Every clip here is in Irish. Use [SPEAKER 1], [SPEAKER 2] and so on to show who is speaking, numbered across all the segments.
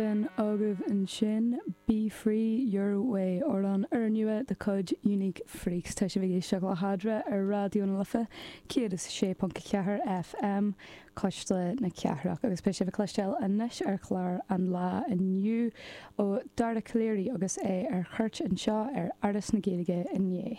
[SPEAKER 1] B'in agaibh ansin Be Free Your Way, amhrán úrnua de chuid Unique Freaks. Tá sibh ag éisteacht le hEadra ar Raidió na Life 106.4 FM, Cuisle na Cathrach, agus beidh sibh ag cloisteáil anois ar chlár an lae inniu ó Dara Calleary agus é ar cuairt anseo ar Fhoras na Gaeilge inné.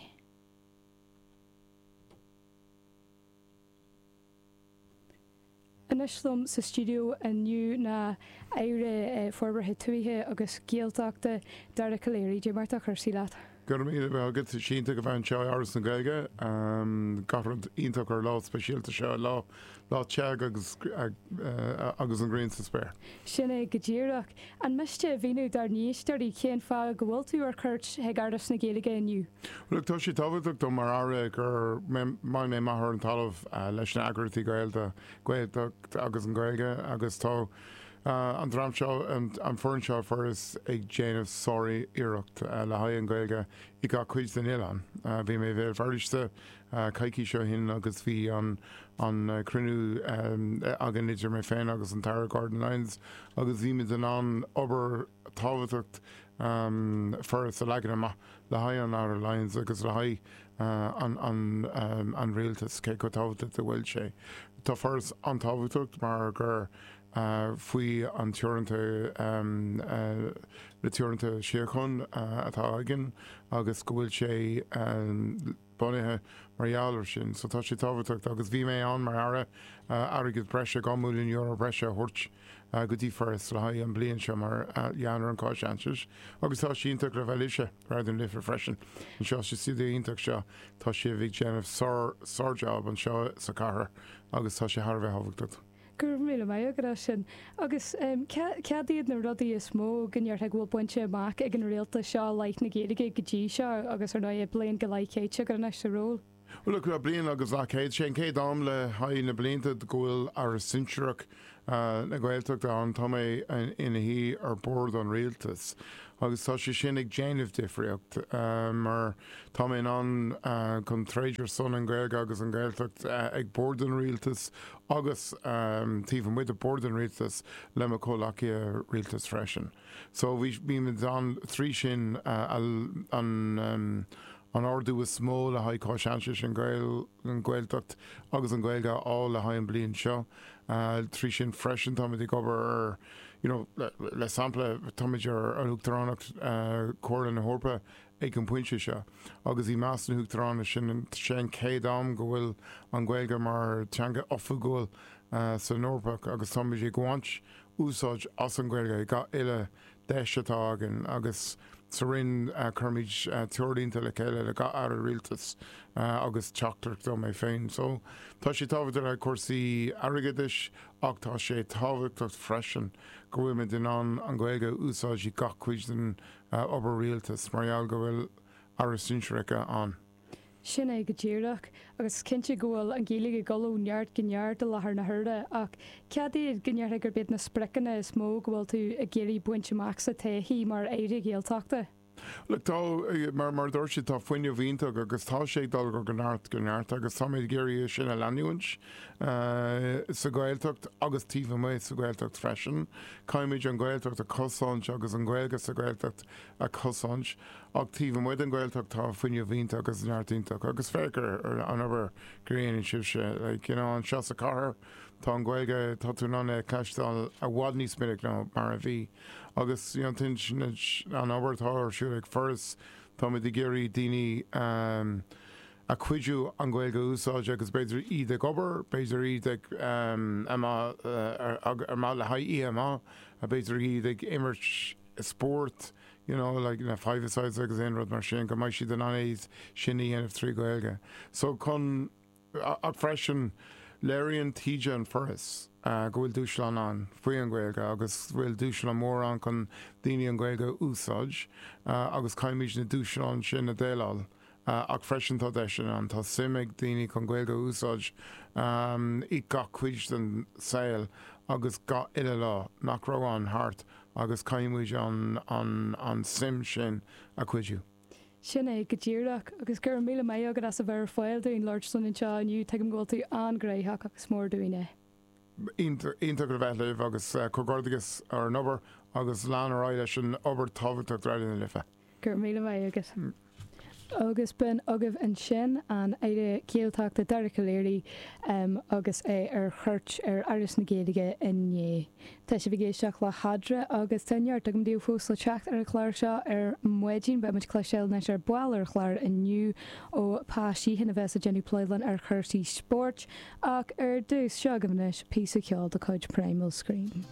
[SPEAKER 1] Anois liom sa stiúideo inniu ná Aire Forbartha Tuaithe agus Gaeltachta, Dara Calleary. Dé mar tá cúrsaí leat?
[SPEAKER 2] Go raibh míle maith agat. Tá sé iontach a bheith anseo i Áras na Gaeilge. Gach rud iontach ar an lá speisialta seo, lá lá te agus agus an ghrian sa spéir.
[SPEAKER 1] Sin é go díreach. An miste a mhíniú dár n-éisteoirí cén fáth go bhfuil tú ar cuairt chuig Áras na Gaeilge inniu?
[SPEAKER 2] Look, tá sé tábhachtach dom mar Aire go mbeidh mé amach ar an talamh leis na eagraíochtaí Gaelta, Gaeltacht agus an Ghaeilge agus tá an dream seo, an foireann seo Foras ag déanamh sár-iarracht le haghaidh an Ghaeilge i gach cuid den oileán. Bhí mé i Bhéal Feirste coicís ó shin agus bhí an an cruinniú againn idir mé féin agus an tAire Gordon Lyons agus bhí muid in ann obair tábhachtach Foras a leagan amach le haghaidh an Aire Lyons agus le haghaidh an an an rialtas cé chomh tábhachtach a bhfuil sé. Tá Foras an-tábhachtach mar gur faoi an teoranta na teoranta suíochán atá againn agus go bhfuil sé bunaithe mar gheall ar sin. So tá sé tábhachtach agus bhí mé ann mar Aire airgead breise, €2 milliún breise a thabhairt go dtí Foras le haghaidh an bliain seo mar gheall ar an Cháisainsis agus tá sé iontach le bheith libhse, Raidió na Life freisin anseo sa stiúideo iontach seo. Tá sibh ag déanamh sár, sár-job anseo sa chathair agus tá sé thar a bheith tábhachtach.
[SPEAKER 1] Go raibh míle maith agat as sin. Agus cad iad na rudaí is mó go ndéarfá go bhfuil bainte amach ag an rialtas seo i leith na Gaeilge go dtí seo agus ar ndóigh bliain go leith caite agat anois sa ról?
[SPEAKER 2] Bhuel look, bliain agus leathchéad, sé an chéad am le haghaidh na blianta go bhfuil Aire Sinsearach na Gaeltachta ann. Tá mé ina shuí ar bord an rialtais agus tá sé sin ag déanamh difríocht mar tá mé in ann chun troid ar son an Ghaeilge agus an Ghaeltacht ag bord an rialtais agus taobh amuigh de bord an rialtais le mo chomhleacaithe rialtais freisin. So bhí bímid ann trí sin an an ardú is mó le haghaidh Cáisainsis, an an Ghaeltacht agus an Ghaeilge a fháil le haghaidh an bliain seo. Trí sin freisin táimid ag obair ar you know le sampla táimid ar an Uachtaránacht Chomhairle na hEorpa ag an bpointe seo agus i measc na hUachtarána sin sé an chéad am go bhfuil an Ghaeilge mar teanga oifigiúil san Eorpach agus táimid ag baint úsáid as an Ghaeilge ag gach uile deis atá againn agus sa Roinn cuirimid treoirlínte le chéile le gach Aire Rialtais agus teachtaireacht ó mé féin. So tá sé tábhachtach le cúrsaí airgeadais ach tá sé tábhachtach freisin go bhfuilimid in ann an Ghaeilge a úsáid i gach cuid den obair rialtais mar gheall go bhfuil Aire Sinsearach ann.
[SPEAKER 1] Sin é go díreach. Agus is cinnte go bhfuil an Ghaeilge ag dul ó neart go neart i láthair na huaire, ach cad iad go ndéarfá gurb iad na spriocanna is mó go bhfuil tú ag iarraidh baint amach sa todhchaí mar Aire Gaeltachta?
[SPEAKER 2] Look, tá, mar, mar a dúirt siad, tá fuinneamh iontach agus tá sé ag dul ó neart go neart agus táimid ag iarraidh é sin a leanúint sa Ghaeltacht agus taobh amuigh sa Ghaeltacht freisin. Caithfimid an Ghaeltacht a chosaint agus an Ghaeilge sa Ghaeltacht a chosaint ach taobh amuigh den Ghaeltacht tá fuinneamh iontach agus neart iontach agus féach ar an obair go dhéanann sibhse, like, you know, anseo sa chathair tá an Ghaeilge, tá tú in ann é a chloisteáil i bhfad níos minic ná mar a bhí agus, you know, an obair atá ar siúl ag Foras, táimid ag iarraidh daoine a chuidiú an Ghaeilge a úsáid agus b'fhéidir iad ag obair, b'fhéidir iad ag amach le haghaidh oíche amach, b'fhéidir iad ag imirt spórt, you know, like na five-a-sides agus aon rud mar sin, go mbeidh siad in ann é sin a dhéanamh trí Ghaeilge. So chun, ach freisin, léiríonn taighde an Foras go bhfuil dúshlán ann faoi an Ghaeilge agus go bhfuil dúshlán mór ann chun daoine an Ghaeilge a úsáid agus caithfimid na dúshláin sin a dhéileáil. Ach freisin tá deiseanna ann, tá suim ag daoine chun Gaeilge a úsáid i gach cuid den saol agus gach uile lá nach raibh ann thart agus caithfidh muid an an an suim sin a chuidiú.
[SPEAKER 1] Sin é go díreach. Agus go raibh míle maith agat as a bheith ar fáil dúinn labhairt linn anseo inniu. Tuigim go bhfuil tú an-ghnóthach agus is mór dúinn é.
[SPEAKER 2] Iontach le bheith libh agus comhghairdeachas ar an obair. agus lean ar aghaidh leis an obair tábhachtach do Raidió na Life.
[SPEAKER 1] Go raibh míle maith agat. Agus b'in agaibh ansin an Aire Gaeltachta Dara Calleary agus é ar chuairt ar Fhoras na Gaeilge inné. Tá sibh ag éisteacht le hEadra agus tá neart agam daoibh fós le teacht ar an chlár seo ar maidin. Beidh muid ag cloisteáil anois ar ball ar an chlár inniu ó Pa Sheehan a bheas ag déanamh plé linn ar chúrsaí spóirt. Ach ar dtús, seo agaibh anois píosa ceoil de chuid Primal Scream.